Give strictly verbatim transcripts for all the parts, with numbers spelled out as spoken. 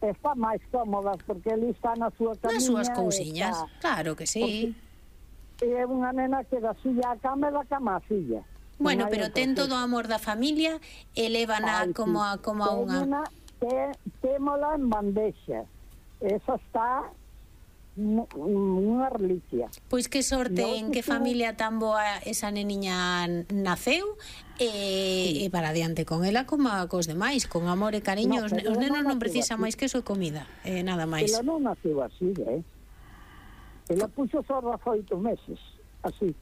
está máis cómoda, porque ele está na súa camiña. Nas súas cousiñas, claro que sí. E é unha nena que da silla a cama e da cama a silla. Bueno, pero ten todo o amor da familia e lévana como a, como a unha... Témola en bandexa. Esa está unha reliquia. Pois que sorte en que familia tan boa esa neniña naceu e, e para adiante con ela como a cos demais, con amor e cariño. Os nenos non precisan máis que eso e comida, e nada máis. Ela non naceu así, eh? Ela puxo só dezoito meses, así.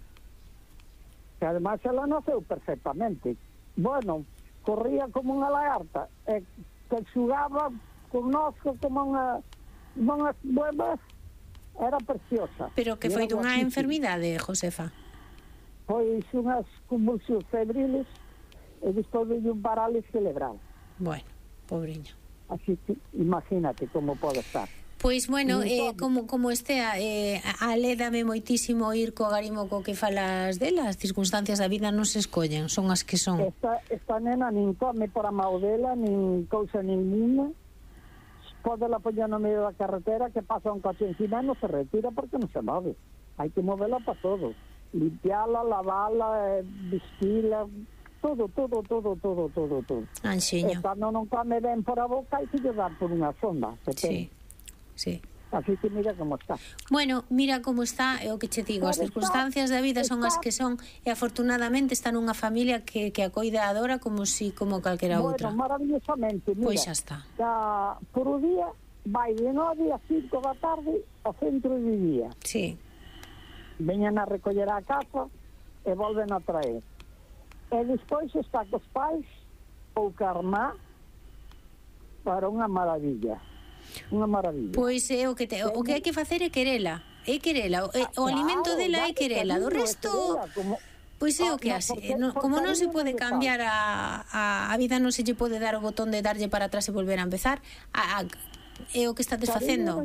Que además ela naceu perfectamente. Bueno, corría como unha lagarta, e que xugaba connosco como unha unhas buenas, era preciosa. Pero que foi dunha enfermidade, Josefa? Pois unhas convulsións febriles e despois de un parálisis cerebral. Bueno, pobriño. Así que imagínate como pode estar. Pois, bueno, eh, como, como estea, eh, alédame moitísimo ir co agarimo co que falas dela. As circunstancias da vida non se escollen, son as que son. Esta, esta nena nin come por a mao dela, nin cousa ninguna. Pode la poñer no medio da carretera, que pasa un coche encima e non se retira porque non se move. Hai que movela para todo. Limpiala, lavala, vestila, todo, todo, todo, todo, todo, todo. Anxiño. E cando non come ben por a boca, hai que lle dar por unha sonda. Sí. Sí. Así que mira como está. Bueno, mira como está, é o que che digo, as circunstancias da vida son as que son e afortunadamente está nunha familia que, que a coida e adora como si como calquera outra. Bueno, maravillosamente, mira. Pois xa está. Ya, por o día vai de nove a cinco da tarde ao centro de día. Sí. Veñan a recoller a casa e volven a traer. E despois está cos pais ou carmá para unha maravilla. Unha maravilla. Pois é o que te, o que hai que facer é querela, é querela, o, o alimento dela é querela, do resto pois é o que hace, no, como non se pode cambiar a, a, a vida, non se lle pode dar o botón de darlle para atrás e volver a empezar, a, a, é o que estás facendo.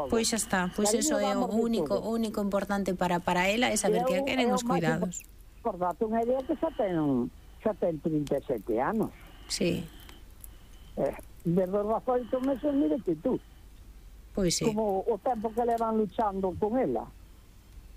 Pois xa está, pois eso é o único, o único importante para para ela é saber que a queren os cuidados. Por date unha idea que xa ten xa ten trinta e sete anos. Sí. Eh, desde os dezoito meses, mírete tú. Pois sí. Como o tempo que levan luchando con ela.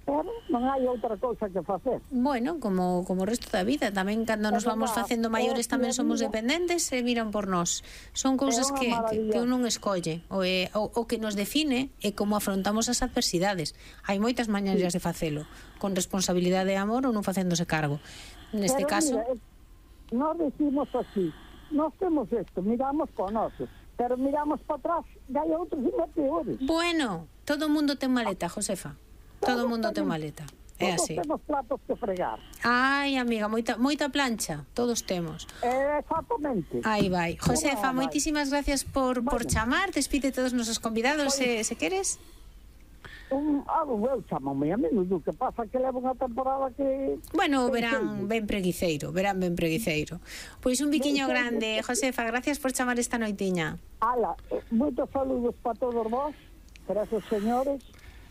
Pero non hai outra cousa que facer. Bueno, como, como o resto da vida. Tamén cando nos vamos facendo maiores tamén somos dependentes e miran por nós. Son cousas que, que, que un non escolle. O, é, o, o que nos define é como afrontamos as adversidades. Hai moitas mañeiras de facelo, con responsabilidade e amor ou non facéndose cargo. Neste Pero caso... Mira, nós decimos así, nós temos isto, miramos para nosos, pero miramos para atrás e hai outros ainda peores. Bueno, todo o mundo ten maleta, Josefa. Todo o mundo ten maleta. É así. Todos temos platos que fregar. Ai, amiga, moita, moita plancha. Todos temos. Exactamente. Aí vai. Josefa, moitísimas gracias por, por chamar. Despide todos os nosos convidados, se, se queres. Un, algo eu chamame a menudo, que pasa que leva unha temporada que... Bueno, verán ben preguiceiro, verán ben preguiceiro. Pois un biquiño grande, Josefa, gracias por chamar esta noitiña. Ala, moitos saludos para todos vos, para esos señores,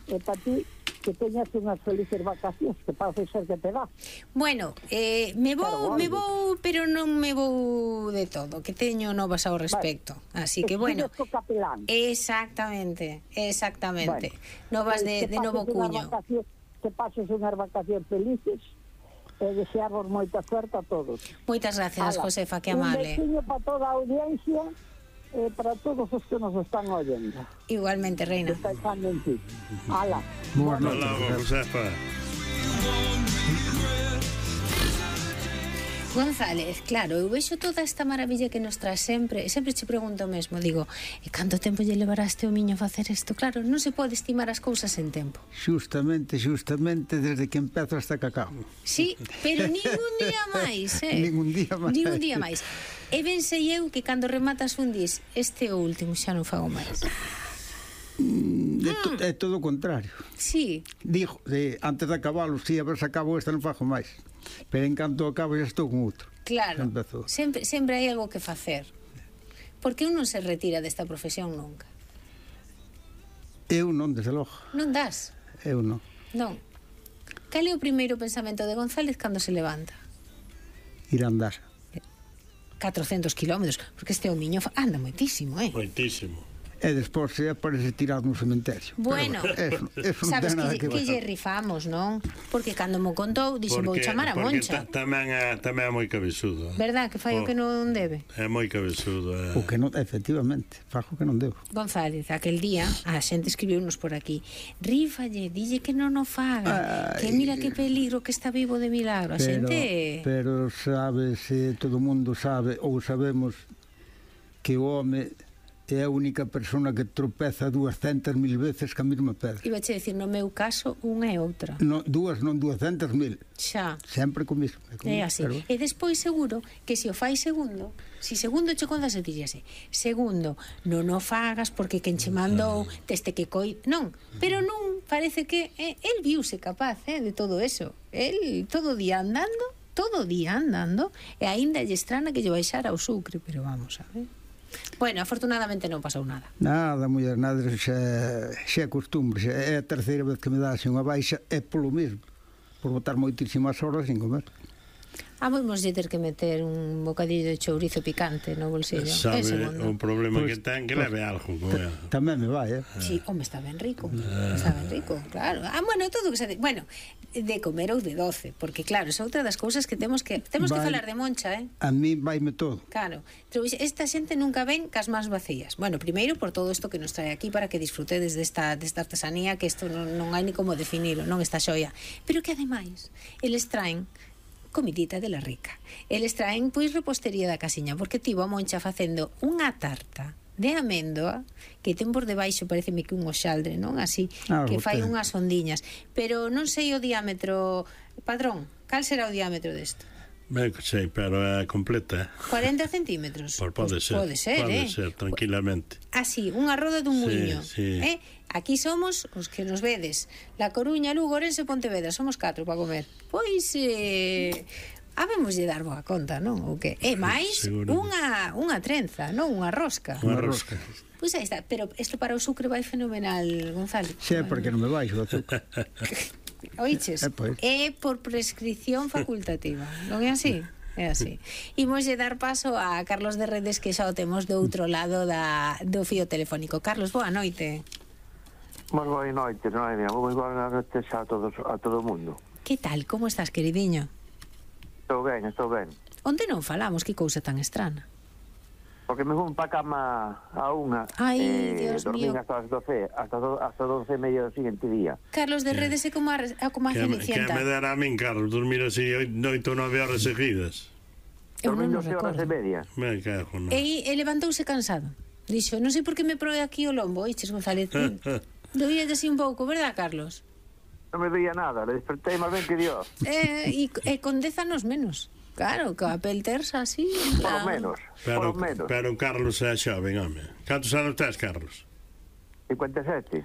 e para ti, que teñas unhas felices vacacións, que parece ser que te vas. Bueno, eh, me vou, me vou, pero non me vou de todo, que teño novas ao respecto. Vale. Así que, bueno, exactamente, exactamente. Bueno, novas de, de novo cuño. Que pases unhas vacacións felices e desearvos moita suerte a todos. Moitas gracias, Ala, Josefa, que amable. Un besiño para toda a audiencia e para todos os que nos están oyendo. Igualmente, Reina. Pensando en ti. Ala. Boas noches, Josefa. González, claro, eu vexo toda esta maravilla que nos trae sempre, sempre che pregunto o mesmo, digo, e canto tempo lle levaraste o miño a facer isto? Claro, non se pode estimar as cousas en tempo. Justamente, justamente desde que empezo hasta que acabo. Sí, pero ningún día máis, eh? Ningún día máis. Ningún día máis. E ben sei eu que cando rematas un dis, este é o último, xa non fago máis. Mm, é, to, é todo o contrario. Sí. Digo, de, antes de acabalo, si a ver se acabo esta non fago máis. Pero en canto acabo já estou con outro. Claro, sempre, sempre hai algo que facer. Porque un non se retira desta profesión nunca. Eu non, desde logo. Non das? Eu non. Non. Cal é o primeiro pensamento de González cando se levanta? Ir a andar. catrocentos kilómetros, porque este homiño anda moitísimo, eh? Moitísimo. E despois se aparece tirado no cementerio. Bueno, eso, eso non sabes ten nada que, que que lle rifamos, non? Porque cando mo contou, dixen, vou chamar a Moncha. Porque tamén é, tamén é moi cabezudo. Verdad, que fai o que non debe? É moi cabezudo. É. O que non, efectivamente, fajo que non debo. González, aquel día, a xente escribiunos por aquí, rífalle, dille que non o faga, Ay, que mira que peligro que está vivo de milagro. A pero, xente... Pero sabes, eh, todo o mundo sabe, ou sabemos, que o home é a única persona que tropeza duascentas mil veces ca mesma pedra. Iba che dicir, no meu caso, unha e outra. No, dúas, non duascentas mil. Xa. Sempre co mismo. É así. Pero... E despois seguro que se o fai segundo, si segundo che contas e dixese, segundo, non o fagas porque quen che mandou teste que coi... Non, pero non, parece que eh, el viuse capaz eh, de todo eso. El todo día andando, todo día andando, e aínda lle estrana que lle baixara o sucre, pero vamos a ver. Bueno, afortunadamente non pasou nada. Nada, muller, nada, xa, xa é costumbre, xa é a terceira vez que me dá unha baixa, é polo mesmo, por botar moitísimas horas sin comer. Ah, vamos ter que meter un bocadillo de chourizo picante no bolsillo. Sabe, o problema pues, que ten, que pues, leve algo. Tamén me vai, eh? Sí, home, está ben rico. Está ben rico, claro. Ah, bueno, todo o que se... Bueno, de comer ou de doce, porque claro, é outra das cousas que temos que temos vai, que falar de Moncha, eh? A mí vaime todo. Claro, esta xente nunca ven cas más vacías. Bueno, primeiro por todo isto que nos trae aquí para que disfrutedes desta, desta artesanía, que isto non, non hai ni como definilo, non esta xoia. Pero que ademais, eles traen comidita de la rica. Eles traen, pois, repostería da casiña, porque tivo a Moncha facendo unha tarta de amendoa que ten por debaixo, pareceme que un oxaldre, non? Así, ah, que fai unhas ondiñas. Pero non sei o diámetro, padrón, cal será o diámetro desto? Ben, sei, pero é completa. cuarenta centímetros. Por pode pues, ser. Pode ser, pode eh? ser, tranquilamente. Así, unha roda dun muiño. Sí, sí. Eh? Aquí somos os que nos vedes. La Coruña, Lugo, Ourense, Pontevedra. Somos catro para comer. Pois, eh, habemos de dar boa conta, non? O que? E máis unha, unha trenza, non? Unha rosca. Unha rosca. Pois aí está. Pero isto para o sucre vai fenomenal, Gonzalo. Sí, bueno, porque non me baixo o azúcar. Oiches? É, pues. É por prescripción facultativa. Non é así? É así. Imos de dar paso a Carlos de Redes, que xa o temos do outro lado da, do fío telefónico. Carlos, boa noite. Moi boa noite, Noelia. Moi boa noite a todos, a todo o mundo. Que tal? Como estás, queridiño? Estou ben, estou ben. Onde non falamos? Que cousa tan estrana. Porque me fun pa cama a unha. Ai, eh, Dios mío. Dormín hasta as doce, hasta, do, hasta doce e media do seguinte día. Carlos de Redes é como a, como a Cenicienta. Que me dará a min, Carlos, dormir así oito ou nove horas seguidas. Eu non nos recordo. Horas e media. Me cago, non. E, e levantouse cansado. Dixo, non sei por que me proe aquí o lombo, oiches, González. Doía así un pouco, verdad, Carlos? Non me doía nada, le despertei máis ben que Dios. Eh, e, e con dez anos menos. Claro, que a pel terza así. Por lo menos, pero, por lo menos. Pero Carlos é xoven, home. Cantos anos tes, Carlos? cincuenta e sete.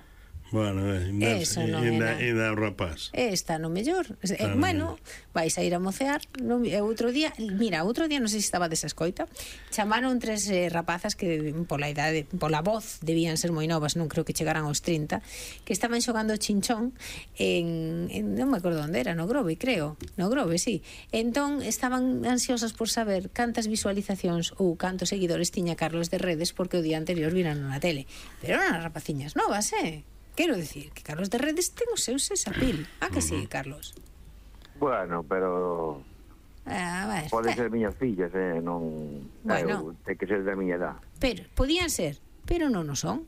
Bueno, ainda é o rapaz. Está no mellor. Eh, bueno, vais a ir a mocear. No, outro día, mira, outro día non sei se estaba desa escoita. Chamaron tres eh, rapazas que pola idade, pola voz, debían ser moi novas, non creo que chegaran aos trinta, que estaban xogando chinchón en, en non me acordo onde era, no Grove, creo. No Grove, sí. Entón estaban ansiosas por saber cantas visualizacións ou cantos seguidores tiña Carlos de Redes, porque o día anterior viran na tele. Pero eran as rapaciñas novas, eh? Quero dicir que Carlos de Redes ten os seus sesapil. Ah, que sí, Carlos? Bueno, pero... Ah, ver, pode ser miñas fillas, eh? Non... Bueno. Eu, ten que ser da miña edad. Pero, podían ser, pero non o son.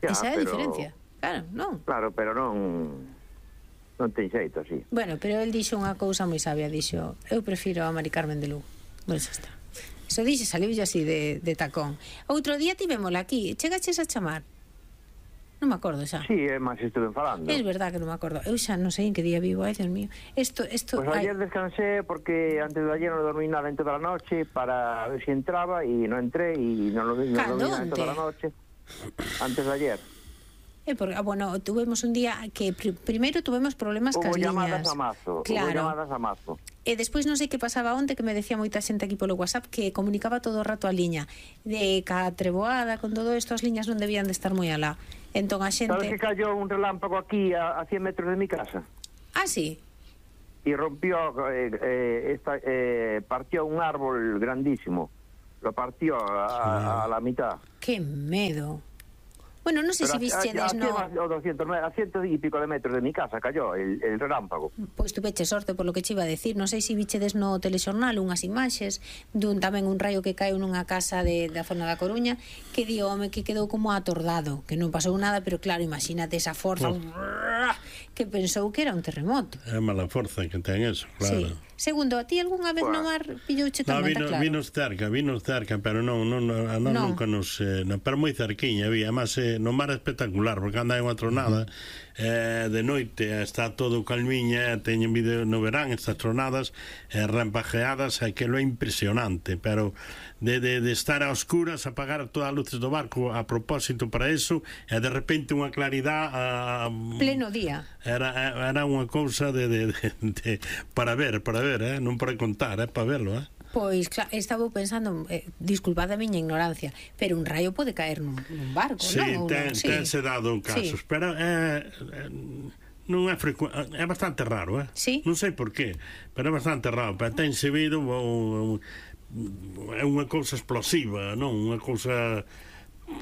Ya, esa é a pero... diferencia. Claro, non. Claro, pero non... Non ten xeito, así. Bueno, pero el dixo unha cousa moi sabia, dixo, eu prefiro a Mari Carmen de Lugo. Bueno, xa está. Eso dixe, saliu así de, de tacón. Outro día tivémola aquí, chegaches a chamar. Non me acordo xa. Sí, é máis estuve falando. É verdad que non me acordo. Eu xa non sei en que día vivo, ai, Dios mío. Esto, esto... Pues ayer descansé porque antes de ayer non dormí nada en toda a noche para ver si entraba e non entré e non dormí nada en toda a noche. Antes de ayer. Eh, porque, ah, bueno, tuvemos un día que pr primeiro tuvemos problemas cas liñas. Hubo llamadas a mazo. Claro. Hubo llamadas a mazo. E despois non sei que pasaba onte, que me decía moita xente aquí polo WhatsApp que comunicaba todo o rato a liña de ca treboada, con todo isto as liñas non debían de estar moi alá. Entón a xente... Sabes que cayó un relámpago aquí a, a cien metros de mi casa? Ah, sí? y rompió, eh, eh, esta, eh, partió un árbol grandísimo, lo partió a, a, a la mitad. ¡Qué medo! Bueno, non sei se vistedes, no... no... doscientos, a ciento y pico de metros de mi casa cayó el, el relámpago. Pois tu veche sorte por lo que che iba a decir. Non sei se vistedes no telexornal unhas imaxes dun tamén un raio que caeu nunha casa de, da zona da Coruña, que di home que quedou como atordado, que non pasou nada, pero claro, imagínate esa forza, oh, que pensou que era un terremoto. É mala forza que ten eso, claro. Sí. Segundo, a ti algunha vez bueno. no mar pillouche tormenta, no, vino, claro? Vinos cerca, vinos cerca, pero non, non, non, non, no. nunca nos... Eh, no, pero moi cerquiña, había, además, eh, no mar espectacular, porque anda en unha tronada, uh-huh. eh, de noite, está todo calmiña, teñen vídeo no verán, estas tronadas, eh, rempajeadas, é que lo é impresionante, pero de, de, de estar a oscuras, apagar todas as luces do barco a propósito para eso, e de repente unha claridade... A, pleno día. Era, era unha cousa de, de, de, de, para ver, para ver, eh? non para contar, é eh? para verlo, eh? Pois, claro, estaba pensando, eh, disculpad a miña ignorancia, pero un raio pode caer nun, nun barco, sí, non? Ten, sí, tense dado casos, sí. Pero é, eh, non é frecu... é bastante raro, eh? Sí? Non sei por qué, pero é bastante raro, pero ten servido é unha cousa explosiva, non? Unha cousa...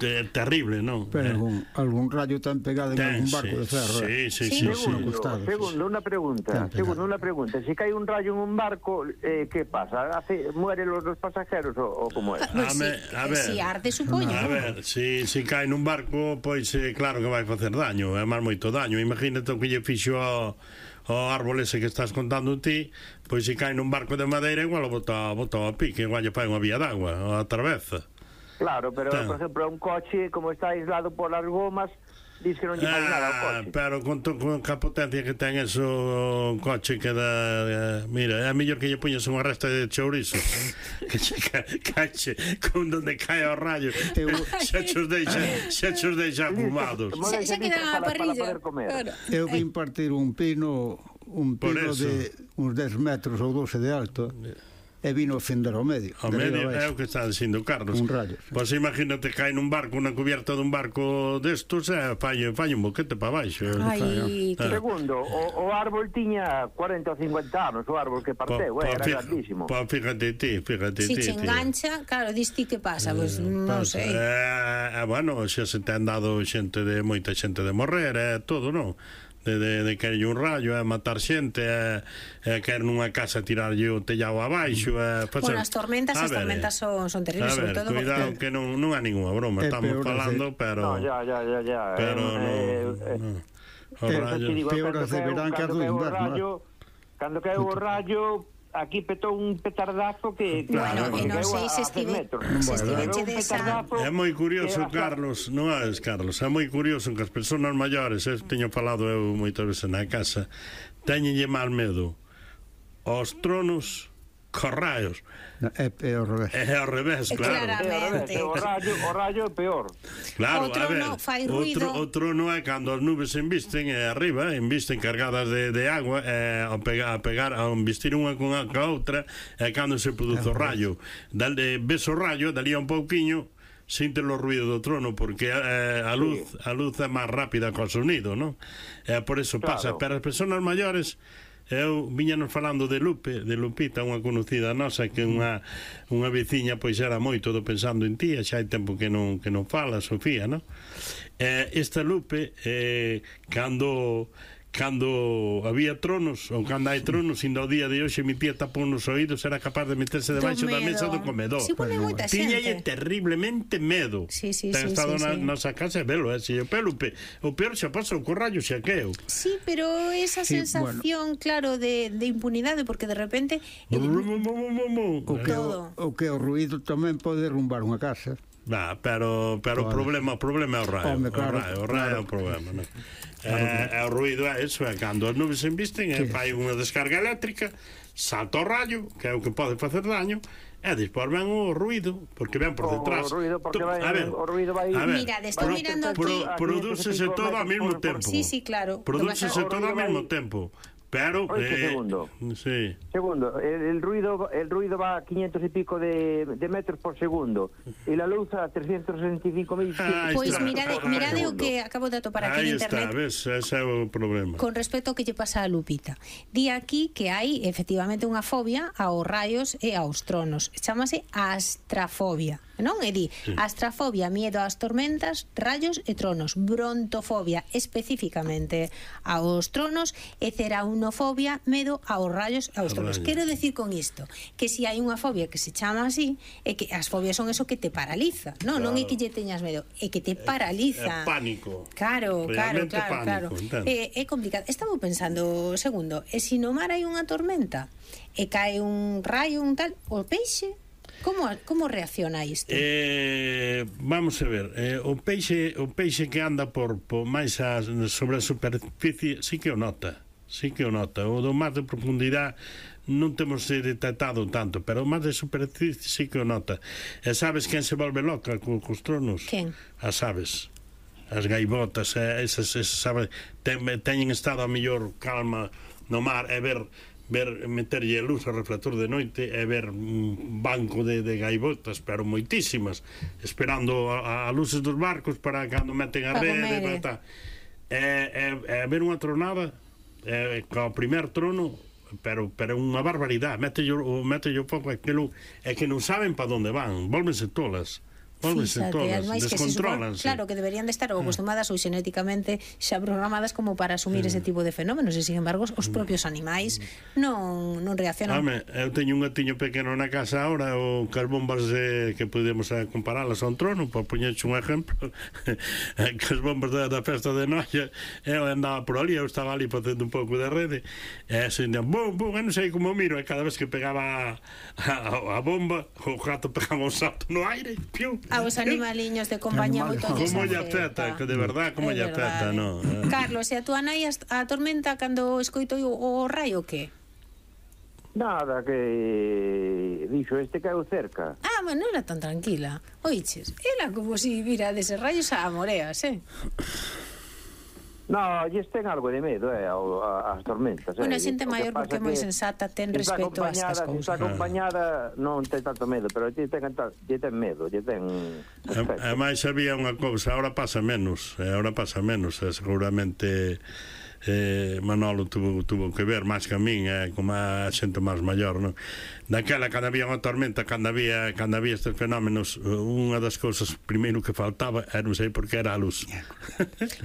É terrible, non? Pero algún, algún rayo tan pegado en ten, algún barco sí, de ferro. Sí, sí, sí. sí, sí, segundo, sí. segundo, una pregunta. Segundo, una pregunta. Si cae un rayo en un barco, eh, ¿qué pasa? ¿Hace, ¿Mueren los, los pasajeros o, o cómo es? Pues a, sí, me, a ver, si arde, supoño. A ver, si, si cae nun barco, pois eh, claro que vai facer daño, é máis moito daño. Imagínate o que lle fixo ao, ao árbol ese que estás contando ti, pois se cae nun barco de madeira, igual o bota, bota a pique, igual lle fai unha vía d'agua, a traveza. Claro, pero, Ten. por ejemplo, un coche, como está aislado por las gomas, dice que non lle fai ah, nada ao coche. Pero con, to, con a potencia que ten eso, o coche que dá... Eh, mira, é mellor que lle puñas unha resta de chourizo que che ca, cache con donde cae o rayo. Xa chos deixa, xa chos deixa fumados. Xa, xa queda a parrilla. Claro. Eu vim partir un pino, un pino de uns dez metros ou doce de alto, e vino a fender ao medio. Ao medio é o que está dicindo Carlos. Un rayo. Sí. Pois imagínate cae nun barco, unha cubierta dun barco destos, e fai, fai un boquete para baixo. Ai, que... Segundo, o, o árbol tiña cuarenta ou cincuenta anos, o árbol que parteu, po, eh, era fija, grandísimo. Pois fíjate ti, fíjate si ti. Se engancha, tío. Claro, dis ti que pasa, pois pues, non sei. Eh, eh, bueno, xa se te han dado xente de moita xente de morrer, eh, todo, non? de, de, de querelle un rayo, é matar xente, é, é querer nunha casa tirarlle o tellado abaixo, é facer... Bueno, as tormentas, as tormentas son, son terribles, sobre todo cuidado porque... que non, non há ninguna broma, estamos falando, pero... No, ya, ya, ya, ya. Pero eh, no, eh, no. O rayo... Peores de verán que a do inverno. Cando cae o rayo... Aquí petou un petardazo que... Bueno, que non sei se estive se desa... É moi curioso, Carlos, non é, Carlos, é moi curioso que as persoas maiores, eu teño falado eu moitas veces na casa, teñenlle mal medo aos tronos corraios. É, é ao revés. É ao revés, claro. Claramente. O rayo, o rayo é peor. Claro, o trono a ver, fai ruido. O, tro, o trono é cando as nubes se embisten e arriba, embisten cargadas de, de agua, e ao pegar, a pegar, a embistir unha con a, con a outra, é cando se produce o rayo. Dal, eh, ves o rayo, dalí un pouquiño, sinte o ruido do trono, porque eh, a luz sí. a luz é máis rápida co sonido, non? E por eso claro. Pasa. Pero as persoas maiores... Eu viñanos falando de Lupe, de Lupita, unha conocida nosa que unha unha veciña pois era moito do pensando en ti, xa hai tempo que non que non fala, Sofía, non? Eh, esta Lupe eh, cando cando había tronos ou cando hai tronos, indo ao día de hoxe mi tía tapou nos oídos, era capaz de meterse debaixo da mesa do comedor. Si, bueno, moita xente. Tiñalle terriblemente medo. Sí, sí, Ten sí, estado sí, na sí. nosa casa e velo, eh, si o Pelupe, o peor xa pasa o corrallo xa queo. Sí, pero esa sí, sensación, bueno. claro, de, de impunidade, porque de repente el... o, que o, o que o ruido tamén pode derrumbar unha casa. Nah, pero pero o problema, o problema é o raio. Home, claro, o raio, o raio claro. É o problema, non? Claro, eh, claro. O ruido é eso, é cando as nubes se embisten, sí. Fai unha descarga eléctrica, salta o rayo, que é o que pode facer daño, e despois ven o ruido, porque ven por detrás. O ruido, porque vai, a ver, o ruido vai... A ver, mira, estou mirando aquí... Pro, Prodúcese todo ao mesmo tempo. Sí, sí, claro. Prodúcese todo ao mesmo tempo. Pero Oye, eh, segundo. Sí. Segundo, el, el ruido el ruido va a quinientos y pico de, de metros por segundo y la luz a trescientos sesenta y cinco mil. Pois pues mirade, mirade o que acabo de atopar aquí Ahí en internet. Aí está, ves, ese é o problema. Con respecto ao que lle pasa a Lupita. Di aquí que hai efectivamente unha fobia aos raios e aos tronos. Chámase astrafobia, non? E di, sí. Astrafobia, miedo ás tormentas, rayos e tronos. Brontofobia, especificamente aos tronos, e ceraunofobia, medo aos rayos e aos tronos. Quero decir con isto que se si hai unha fobia que se chama así, é que as fobias son eso que te paraliza, non? Claro. Non é que lle teñas medo, é que te paraliza. É, é pánico. Claro, claro, claro, pánico, claro. É, é complicado. Estaba pensando, segundo, e se no mar hai unha tormenta e cae un raio, un tal, o peixe, como como reacciona isto? Eh, vamos a ver, eh, o peixe o peixe que anda por, por máis a, sobre a superficie sí que o nota, sí que o nota. O do mar de profundidade non temos detectado tanto, pero o mar de superficie sí que o nota. E sabes quen se volve loca co, cos tronos? Quen? As aves. As gaivotas, eh, esas, esas aves ten, teñen estado a mellor calma no mar e ver ver meterlle luz ao reflector de noite e ver un banco de, de gaivotas, pero moitísimas, esperando a, a luces dos barcos para cando meten a rede, para tal. E, e, e ver unha tronada e, co primer trono, pero pero unha barbaridade, mete o mete o foco aquilo, é que non saben para onde van, volvense tolas. Fíxate, todas, descontrolanse. Claro, que deberían de estar acostumadas ou xenéticamente xa programadas como para asumir mm. ese tipo de fenómenos e, sin embargo, os propios animais non, non reaccionan. Home, eu teño un gatiño pequeno na casa ahora, o que as bombas eh, que podemos comparalas a un trono, para poñerche un exemplo, que as bombas da, da festa de Noia, eu andaba por ali, eu estaba ali facendo un pouco de rede, e assim, bum, bum, eu non sei como miro, e cada vez que pegaba a, a, a bomba, o gato pegaba un salto no aire, piu. A os animaliños de compañía moito lles como lle afecta, que de verdad como lle afecta, no. Carlos, e a túa nai a tormenta cando escoitou o raio que? Nada, que dixo este caeu cerca. Ah, bueno, non era tan tranquila. Oiches, era como si vira deses rayos a moreas, eh? No, lles ten algo de medo, eh, ás tormentas. Bueno, a xente maior porque é moi sensata, ten respeto a estas cousas. Se está acompañada non ten tanto medo, pero lle ten, lle ten medo, lle ten... E máis había unha cousa, ahora pasa menos, ahora pasa menos, seguramente... Eh, Manolo tuvo, tuvo que ver máis que a min, eh, como a xente máis maior, non? Daquela, cando había unha tormenta, cando había, cando había estes fenómenos, unha das cousas primeiro que faltaba era, non sei por que, era a luz.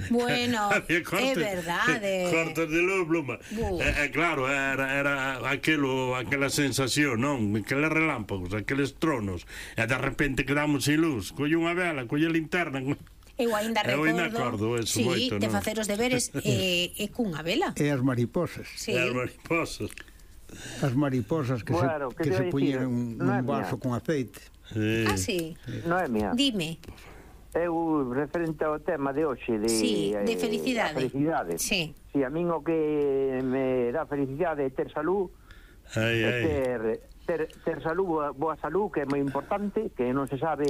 Bueno, é verdade. Cortes de luz, Bluma. Eh, eh, claro, era, era aquelo, aquela sensación, non? Aqueles relámpagos, aqueles tronos, e de repente quedamos sin luz, colle unha vela, colle a linterna... Eu ainda recordo, eu ainda acordo eso, sí, moito, de non? facer os deberes e, e cunha vela. E as mariposas. Sí. E as mariposas. As mariposas que bueno, se, que que se puñen un, no un vaso con aceite. Sí. Ah, sí? Non é mía. Dime. Eu, referente ao tema de hoxe de, sí, de felicidade. Eh, felicidade. Sí. Si, a min o que me dá felicidade é ter salud, ai, é ai. ter, ter, ter salud, boa, boa salud, que é moi importante, que non se sabe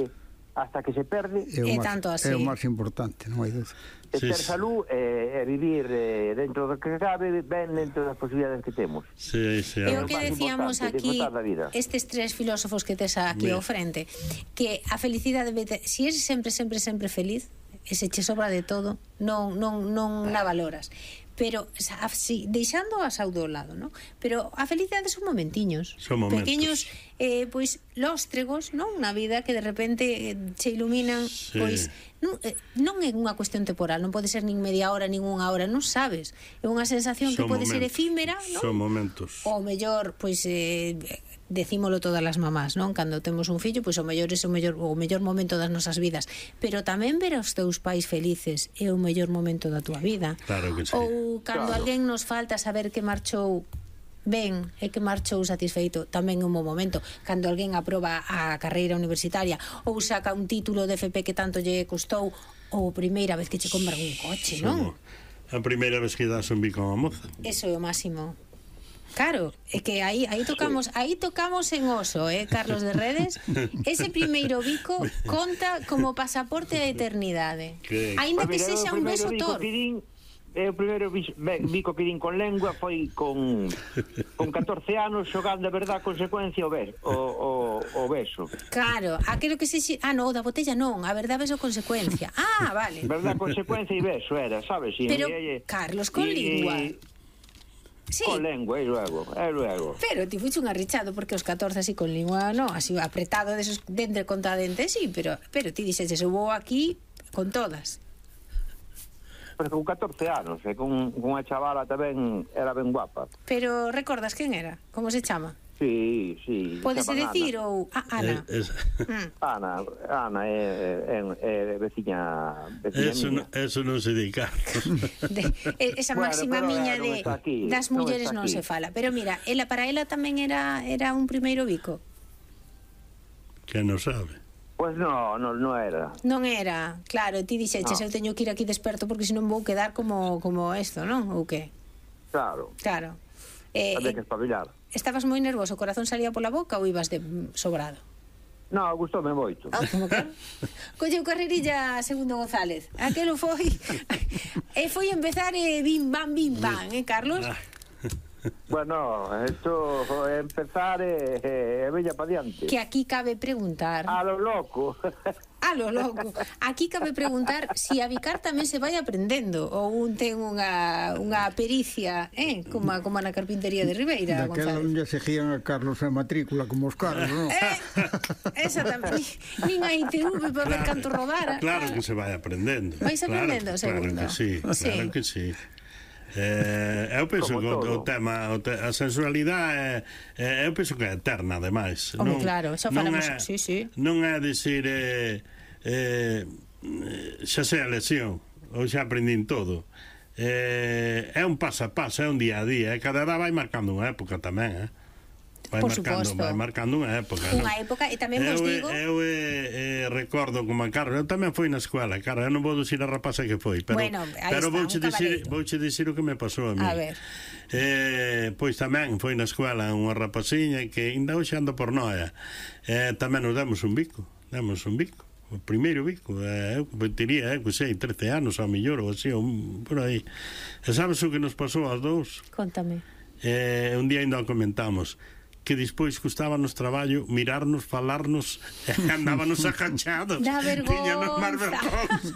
hasta que se perde. É o, é máis, tanto así. É o máis importante, non hai dúbida. É Sí, ter sí. salud e, e vivir eh, dentro do que cabe, ben dentro das posibilidades que temos. Sí, sí, É o a- que máis decíamos importante, aquí, disfrutar da vida. estes tres filósofos que tes aquí Mira. ao frente, que a felicidade, se si és sempre, sempre, sempre feliz, e se che sobra de todo, non, non, non la valoras. Pero así, deixando a saúde ao lado, ¿no? Pero a felicidade son momentiños, Son momentos. pequeños, eh, pois lóstregos, non, na vida que de repente eh, se iluminan, Sí. pois non, eh, non é unha cuestión temporal, non pode ser nin media hora, nin unha hora, non sabes. É unha sensación que Son pode ser momentos. efímera, non? Son momentos. O mellor, pois eh, decímolo todas as mamás, non? Cando temos un fillo, pois o mellor é o mellor o mellor momento das nosas vidas, pero tamén ver aos teus pais felices é o mellor momento da túa vida. Claro que sí. Ou cando Claro. alguén nos falta saber que marchou ben e que marchou satisfeito, tamén é un bom momento. Cando alguén aproba a carreira universitaria ou saca un título de F P que tanto lle custou, ou a primeira vez que che compran un coche, non? A primeira vez que das un bico a moza. Eso é o máximo. Claro, é que aí aí tocamos, aí tocamos en oso, eh, Carlos de Redes. Ese primeiro bico conta como pasaporte á eternidade. Que- Aínda que Pois mira, eu sexa o un primeiro beso bico tor. que din, o primeiro bico que din con lengua foi con con catorce anos xogando a verdad consecuencia o beso, o, o, o beso. Claro, aquilo que se... Ah, no, da botella non, a verdad beso consecuencia. Ah, vale. Verdad consecuencia e beso era, sabes? Y, Pero, y, y, Carlos, con y, lingua... Y, Sí. Con lengua, e luego, e luego. Pero ti fuiste un arrichado porque os catorce así con lingua, no, así apretado de esos dentro contra dente, sí, pero pero ti dixeches, eu vou aquí con todas. Pero con catorce anos, e con, con unha chavala tamén era ben guapa. Pero recordas quen era? Como se chama? Sí, sí. Pódese decir ou... Ah, Ana. Eh, es... mm. Ana, Ana é, é, é veciña, veciña eso, miña. No, eso non se dedica. De, esa Bueno, máxima pero miña non de está aquí, das non mulleres está non aquí. se fala. Pero mira, ela para ela tamén era era un primeiro bico. Que non sabe. Pois no, no, no era. Non era, claro, ti dixeches, No. eu teño que ir aquí desperto porque senón vou quedar como como isto, non? Ou que? Claro. Claro. Eh, Había eh, que espabilar. estabas moi nervoso, o corazón salía pola boca ou ibas de sobrado? No, gustoume moito. Ah, como que? Colleu carrerilla segundo González. Aquelo foi... e foi empezar e eh, bim bam bim bam, eh, Carlos? Bueno, esto é empezar e eh, eh, veña pa diante. Que aquí cabe preguntar... A lo loco. A lo loco. Aquí cabe preguntar si a bicar tamén se vai aprendendo ou un ten unha, unha pericia, eh, como, a, como a na carpintería de Ribeira, Daquela González. non lle seguían a Carlos a matrícula como os carros, non? Eh, exactamente. Nin a I T V para ver canto rodara. Claro que se vai aprendendo. Vais aprendendo, claro, segundo. Claro que sí, Sí. claro que sí. Eh, eu penso que o, o tema o te, a sensualidade é, eu penso que é eterna ademais. Home, non, claro, xa non falamos, é, sí, sí. non é dicir eh, eh, xa sei a lesión ou xa aprendín todo. Eh, é un paso a paso, é un día a día, e cada edad vai marcando unha época tamén, eh? Vai Por marcando, suposto. vai marcando unha época, Unha non? época, e tamén vos eu, digo... Eu eh, eh, recordo como a Carlos, eu tamén fui na escola, Carlos, eu non vou dicir a rapaza que foi, pero, Bueno, aí pero está, vouche un dicir, cabaleiro. vouche dicir o que me pasou a mí. A ver. Eh, pois tamén foi na escola unha rapaciña que ainda hoxe anda por noia. Eh, tamén nos demos un bico, demos un bico. O primeiro bico, eh, eu teria, eu sei, trece anos ao millor ou así, ou por aí. E sabes o que nos pasou aos dous? Contame. Eh, un día ainda o comentamos, que despois custábanos traballo mirarnos, falarnos, e andábanos agachados. Da Tiñanos máis vergonza. vergonza.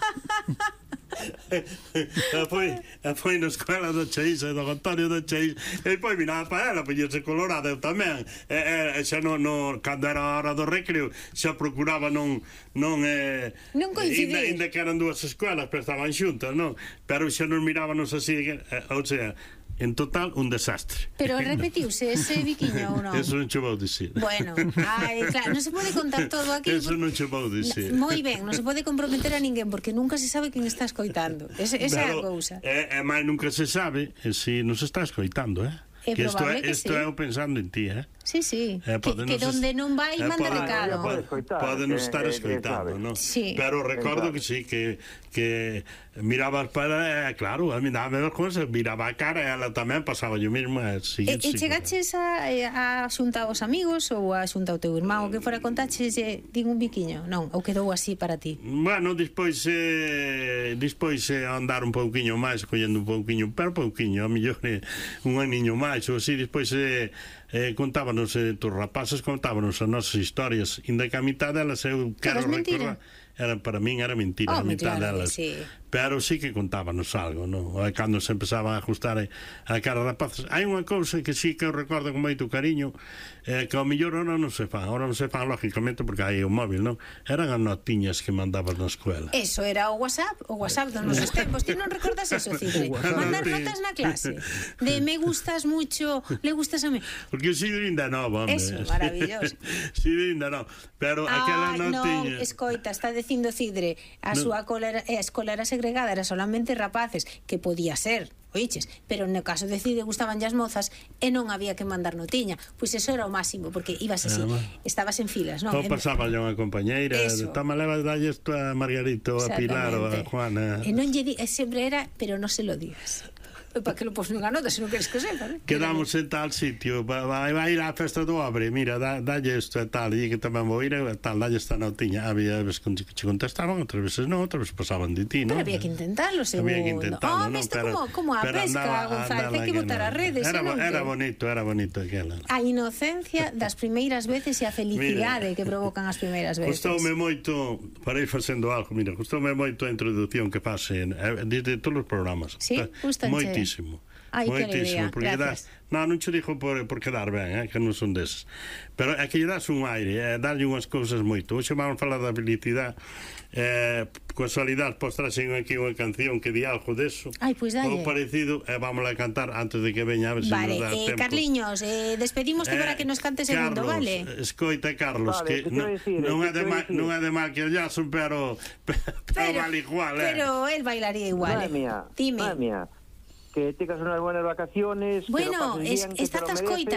E foi, e foi na escola do Cheís e do Antonio do Cheís, e depois miraba para ela, poñerse colorada eu tamén, e, e xa non, no, cando era a hora do recreo xa procuraba non non, eh, Non coincidir. ainda, ainda que eran dúas escolas pero estaban xuntas, non? Pero xa nos mirábanos así, eh, ou sea, en total un desastre. Pero repetiuse ese biquiño ou non? Eso non che vou dicir. Bueno, ai, claro, non se pode contar todo aquí. Eso non che vou dicir. Moi ben, non se pode comprometer a ninguén porque nunca se sabe quen está escoitando. Esa, esa é a cousa. E, e máis nunca se sabe e se nos está escoitando, eh? É que isto probable é, que isto sí. é eu pensando en ti, eh? Sí, sí. Eh, que, pode que nos donde es- non vai eh, manda pode- recado. pode escoitar, Podenos que- estar que- que escoitando, sabe. non? Sí. Pero recordo que sí, que que mirabas para, eh, claro, a mí daba vergonza, miraba a cara e ela tamén pasaba yo mismo, eh, sí, E, e sí, chegaches a, a xunta aos amigos ou a xunta ao teu irmán o que fora contaches e din un biquiño? Non, ou quedou así para ti? Bueno, despois eh, despois eh, andar un pouquiño máis, collendo un pouquiño, pero pouquiño, a mellor eh, un aniño máis ou así, despois eh, eh, contábanos eh, tus rapaces contábanos as nosas historias, inda que a mitad delas eu quero Pero é mentira. recordar era, para min era mentira, Oh, a mitad claro, delas, sí. pero sí que contábanos algo, non? E cando se empezaban a ajustar a cara rapaces, hai unha cousa que sí que eu recordo con moito cariño, eh, que ao mellor ahora non se fan, ahora non se fan lógicamente porque hai o móvil, non? Eran as notiñas que mandabas na escuela. Eso era o WhatsApp, o WhatsApp dos nosos tempos. Ti non recordas eso, Cidre? Mandar notas na clase. De me gustas mucho, le gustas a mí. Porque o Sidro ainda non, home. Eso, maravilloso. Sidro ainda non. Pero aquela Ai, non non, tiña... escoita, está dicindo Cidre, a Non. súa cola era, a escola era segregada, era solamente rapaces, que podía ser, oiches, pero no caso de Cidre gustaban as mozas e non había que mandar notiña. Pois eso era o máximo, porque ibas así, Ah, estabas en filas, non? Ou pasaba yo unha compañeira, Eso. toma, leva, dalle isto a Margarito, a Pilar ou a Exactamente. Juana. E non lle di, e sempre era, pero non se lo digas. para que lo pos nunha nota se non queres que sepa, ¿eh? Quedamos en tal sitio, vai, vai ir á festa do Obre, mira, dá, dalle isto e tal, e que tamén vou ir e tal, dalle esta notiña. Había veces que che contestaban, outras veces non, outras veces pasaban de ti, non? Pero había que intentarlo, segundo. Había que intentarlo, oh, non? Isto Pero, como, como a pesca, González, hai que botar as redes. Era, non, era que... bonito, era bonito aquela. A inocencia das primeiras veces e a felicidade mira, que provocan as primeiras veces. Gustoume moito, para ir facendo algo, mira, gustoume moito a introducción que fase desde todos os programas. Sí, gustanche. Moitísimo. Ai, moitísimo, que alegría, gracias. Das, non, non che dixo por, por quedar ben, eh, que non son deses. Pero é que lle das un aire, é eh, darlle unhas cousas moito. Hoxe vamos falar da felicidade, eh, casualidade, pois traxen aquí unha canción que di algo deso. Ai, pois dalle. Ou parecido, e eh, vamos a cantar antes de que veña a ver se vale, nos dá eh, tempo. Carliños, eh, despedimos eh, para que nos cante segundo, Carlos, vale? Escoita, Carlos, vale, que non, decir, non, é de mal, decir. non é de mal que el Jason, pero, pero, pero vale igual, eh. Pero él bailaría igual. Madre mía, Dime. madre mía. Que tengas unas buenas vacaciones. Bueno, que lo pases es, bien, que está te lo tascoita. mereces.